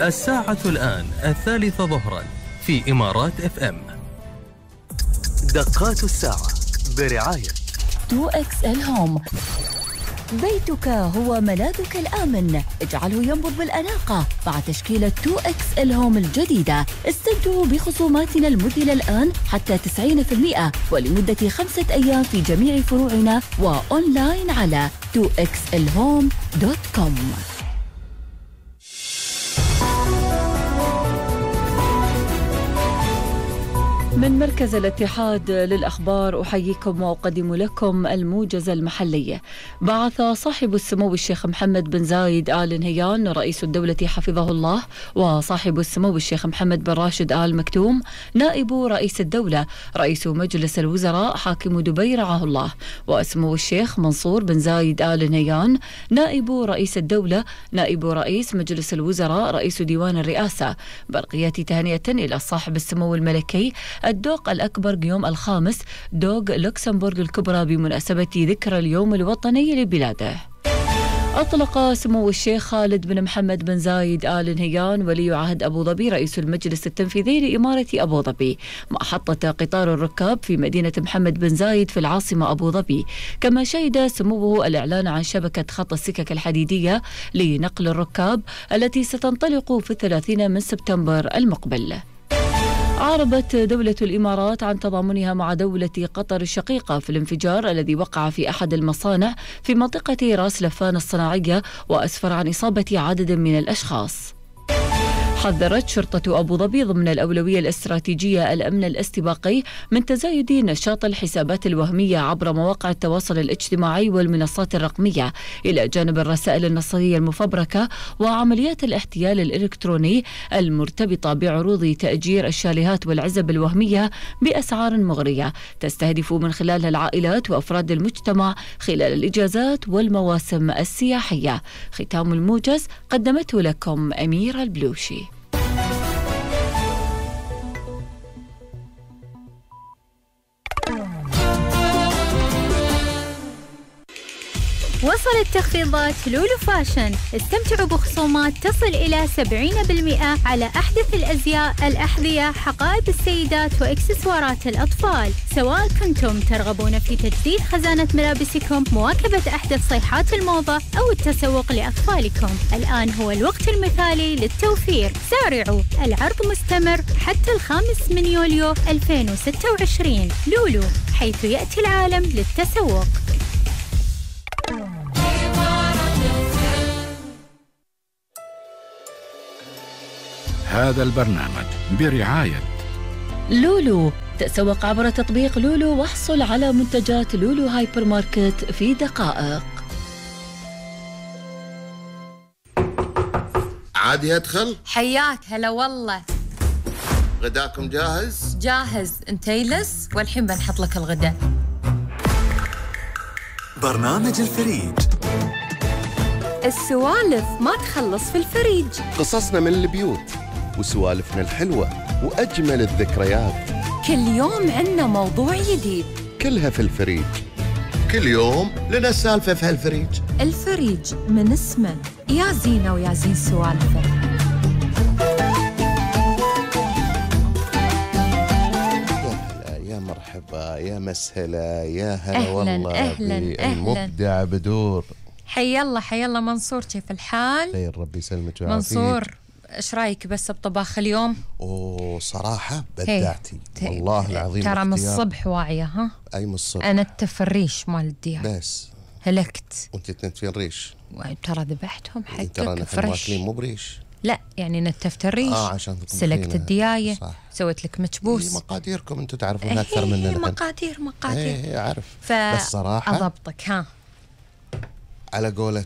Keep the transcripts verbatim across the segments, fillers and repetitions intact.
الساعة الآن الثالثة ظهرا في إمارات اف ام. دقات الساعة برعاية تو إكس إل هوم. بيتك هو ملاذك الآمن، اجعله ينبض بالأناقة مع تشكيلة تو إكس إل هوم الجديدة. استمتعوا بخصوماتنا المذهلة الآن حتى تسعين بالمئة ولمدة خمسة أيام في جميع فروعنا وأونلاين على تو إكس إل هوم دوت كوم. من مركز الاتحاد للأخبار أحييكم وأقدم لكم الموجز المحلي. بعث صاحب السمو الشيخ محمد بن زايد آل نهيان رئيس الدولة حفظه الله وصاحب السمو الشيخ محمد بن راشد آل مكتوم نائب رئيس الدولة رئيس مجلس الوزراء حاكم دبي رعاه الله وسمو الشيخ منصور بن زايد آل نهيان نائب رئيس الدولة نائب رئيس مجلس الوزراء رئيس ديوان الرئاسة. برقية تهنئة إلى صاحب السمو الملكي الدوق الأكبر قيوم الخامس دوق لوكسمبورغ الكبرى بمناسبة ذكرى اليوم الوطني لبلاده. أطلق سمو الشيخ خالد بن محمد بن زايد آل نهيان ولي عهد أبو ظبي رئيس المجلس التنفيذي لإمارة أبو ظبي محطة قطار الركاب في مدينة محمد بن زايد في العاصمة أبو ظبي. كما شهد سموه الإعلان عن شبكة خط السكك الحديدية لنقل الركاب التي ستنطلق في الثلاثين من سبتمبر المقبل. أعربت دولة الإمارات عن تضامنها مع دولة قطر الشقيقة في الانفجار الذي وقع في أحد المصانع في منطقة راس لفان الصناعية وأسفر عن إصابة عدد من الأشخاص. حذرت شرطة أبو ظبي ضمن الأولوية الاستراتيجية الأمن الاستباقي من تزايد نشاط الحسابات الوهمية عبر مواقع التواصل الاجتماعي والمنصات الرقمية إلى جانب الرسائل النصية المفبركة وعمليات الاحتيال الإلكتروني المرتبطة بعروض تأجير الشاليهات والعزب الوهمية بأسعار مغرية تستهدف من خلالها العائلات وأفراد المجتمع خلال الإجازات والمواسم السياحية. ختام الموجز قدمته لكم أميرة البلوشي. وصلت تخفيضات لولو فاشن. استمتعوا بخصومات تصل إلى سبعين بالمئة على أحدث الأزياء، الأحذية، حقائب السيدات وإكسسوارات الأطفال. سواء كنتم ترغبون في تجديد خزانة ملابسكم، مواكبة أحدث صيحات الموضة أو التسوق لأطفالكم، الآن هو الوقت المثالي للتوفير. سارعوا، العرض مستمر حتى الخامس من يوليو ألفين وستة وعشرين. لولو، حيث يأتي العالم للتسوق. هذا البرنامج برعاية لولو. تسوق عبر تطبيق لولو واحصل على منتجات لولو هايبر ماركت في دقائق. عادي أدخل؟ حياك هلا والله. غداكم جاهز؟ جاهز. انت يلس والحين بنحط لك الغداء. برنامج الفريج. السوالف ما تخلص في الفريج. قصصنا من البيوت وسوالفنا الحلوة وأجمل الذكريات. كل يوم عنا موضوع جديد، كلها في الفريج. كل يوم لنا سالفة في هالفريج. الفريج من اسمه يا زينة ويا زين سوالفه. يا مرحبا، يا مسهلا، يا هلا أهلاً والله. أهلاً المبدع بدور. حي الله حي الله منصور، كيف الحال؟ خير، ربي يسلمك ويعافيك. منصور، ايش رايك بس بطباخ اليوم؟ اوه صراحة بدعتي هي. والله العظيم. ترى من اختيار. الصبح واعية. ها اي من الصبح. انا التفريش مال الديار بس هلكت. وانت تنتفين ريش. ترى ذبحتهم حقك ترى نحن فريش. ماكلين مو بريش. لا يعني نتفت الريش. اه عشان سلكت الدياية. صح. سويت لك مكبوس. إيه مقاديركم انتم تعرفون اكثر مننا. مقادير مقادير. ايه اعرف. ف... بس صراحة اضبطك. ها على قولة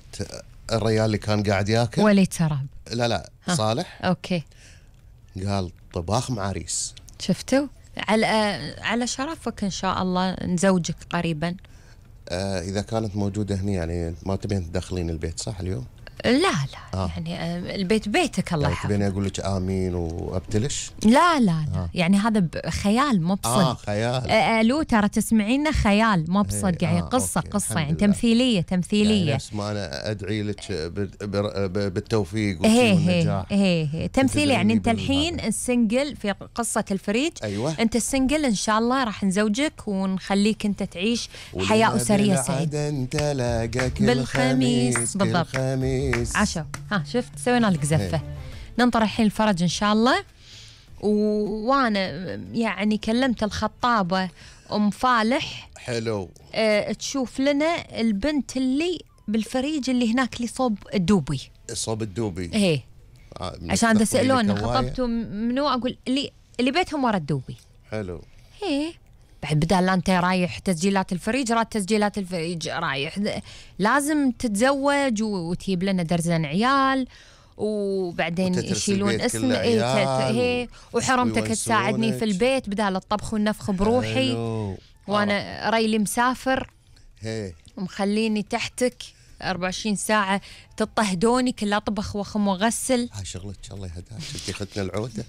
الريال اللي كان قاعد ياكل وليد سراب. لا لا ها. صالح اوكي قال طباخ مع ريس. شفتوا على على شرفك ان شاء الله نزوجك قريبا. آه اذا كانت موجودة هنا يعني ما تبين تدخلين البيت صح اليوم؟ لا لا آه. يعني آه، البيت بيتك الله يعني يحفظك. تبيني أقول لك آمين وأبتلش؟ لا لا لا آه. يعني هذا خيال مو بصدق. آه خيال. آه الو ترى تسمعيننا خيال مو بصدق يعني آه، قصه أوكي، قصه الحمد يعني لله. تمثيليه تمثيليه. يعني نفس ما أنا أدعي لك بال- بال- بالتوفيق هي والنجاح. هي هي هي تمثيل. تدعي يعني لي انت بالهذا. الحين السنجل في قصه الفريج. أيوة. انت السنجل ان شاء الله راح نزوجك ونخليك انت تعيش حياه اسريه سعيده انت لاقاك بالخميس. الخميس بالضبط. الخميس. عشا. ها شفت سوينا لك زفه. ننطر الحين الفرج ان شاء الله. و- وانا يعني كلمت الخطابه ام فالح حلو. أه تشوف لنا البنت اللي بالفريج اللي هناك اللي صوب الدوبي. صوب الدوبي. ايه آه، من عشان تقبلي تسالون لك هواية. خطبتوا منو اقول اللي اللي بيتهم ورا الدوبي. حلو. ايه بعد بدال لا انت رايح تسجيلات الفريج راد تسجيلات الفريج رايح لازم تتزوج وتجيب لنا درزن عيال وبعدين وتترس يشيلون البيت اسم كله ايه عيال هي وحرمتك ويونسونك. تساعدني في البيت بدال الطبخ والنفخ بروحي. حلو. وانا ريلي مسافر هي ومخليني تحتك أربعة وعشرين ساعة تطهدوني كلها طبخ وخم وغسل. هاي شغلك الله يهداك. انت اختنا العوده.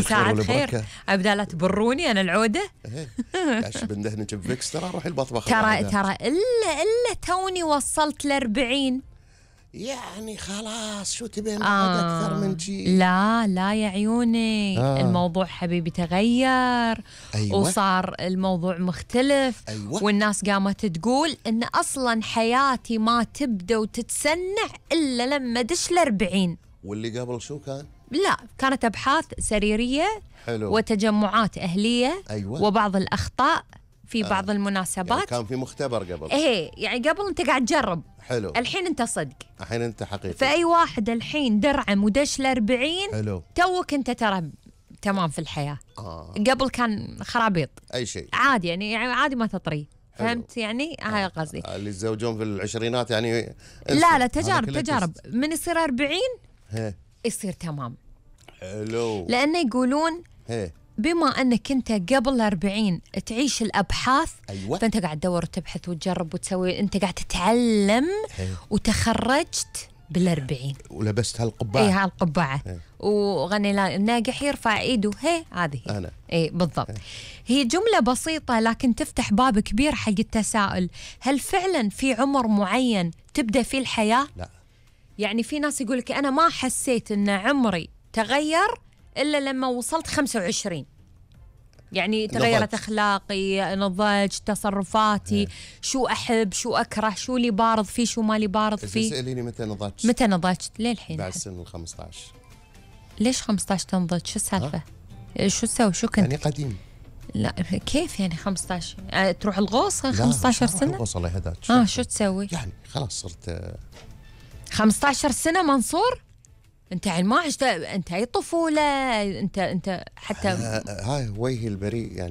ساعة خير أبدا لا تبروني أنا العودة. عش بندهنك بفيكس ترى روحي المطبخ. ترى ترى إلا إلا توني وصلت لأربعين. يعني خلاص شو تبين آه اكثر من شيء؟ لا لا يا عيوني. آه. الموضوع حبيبي تغير. أيوة. وصار الموضوع مختلف. أيوة. والناس قامت تقول إن أصلا حياتي ما تبدأ وتتسنع إلا لما دش الأربعين. واللي قبل شو كان؟ لا كانت أبحاث سريرية. حلو. وتجمعات أهلية. أيوة. وبعض الأخطاء في آه. بعض المناسبات. يعني كان في مختبر قبل. إيه يعني قبل أنت قاعد تجرب. حلو. الحين أنت صدق. الحين انت حقيقي. فأي واحد الحين درعم ودش الأربعين. حلو. توك أنت ترى تمام في الحياة. آه. قبل كان خرابيط اي شيء. عادي يعني, يعني عادي ما تطري. حلو. فهمت يعني هاي قصدي. آه، اللي يتزوجون في العشرينات يعني انسى. لا لا هذا تجارب كله تجارب تست. من يصير أربعين هي. يصير تمام. حلو. لأنه يقولون هي. بما أنك أنت قبل أربعين تعيش الأبحاث. أيوة. فأنت قاعد تدور وتبحث وتجرب وتسوي أنت قاعد تتعلم. هي. وتخرجت بالأربعين. ولبست هالقبعه. اي هالقبعه. إيه. وغني لا الناجح يرفع ايده هي هذه. أنا. اي بالضبط. هي جمله بسيطه لكن تفتح باب كبير حق التساؤل. هل فعلا في عمر معين تبدا فيه الحياه؟ لا. يعني في ناس يقول لك انا ما حسيت ان عمري تغير الا لما وصلت خمسة وعشرين. يعني تغيرت نضجت. اخلاقي نضجت تصرفاتي. شو احب شو اكره شو اللي بارض فيه شو مالي بارض إذا فيه. سأليني متى نضجت؟ متى نضجت ليه الحين؟ بعد سن ال خمسة عشر. ليش خمسة عشر تنضج شو السالفة؟ شو تسوي شو كنت؟ يعني قديم. لا كيف يعني خمسة عشر؟ آه، تروح الغوص لا، خمسة عشر مش راح سنة؟ الغوص الله يهداك. اه شو تسوي؟ يعني خلاص صرت آه، خمسة عشر سنة منصور؟ انت يعني ما عشت انت اي طفولة انت انت حتى آه، هاي وجهي البريء يعني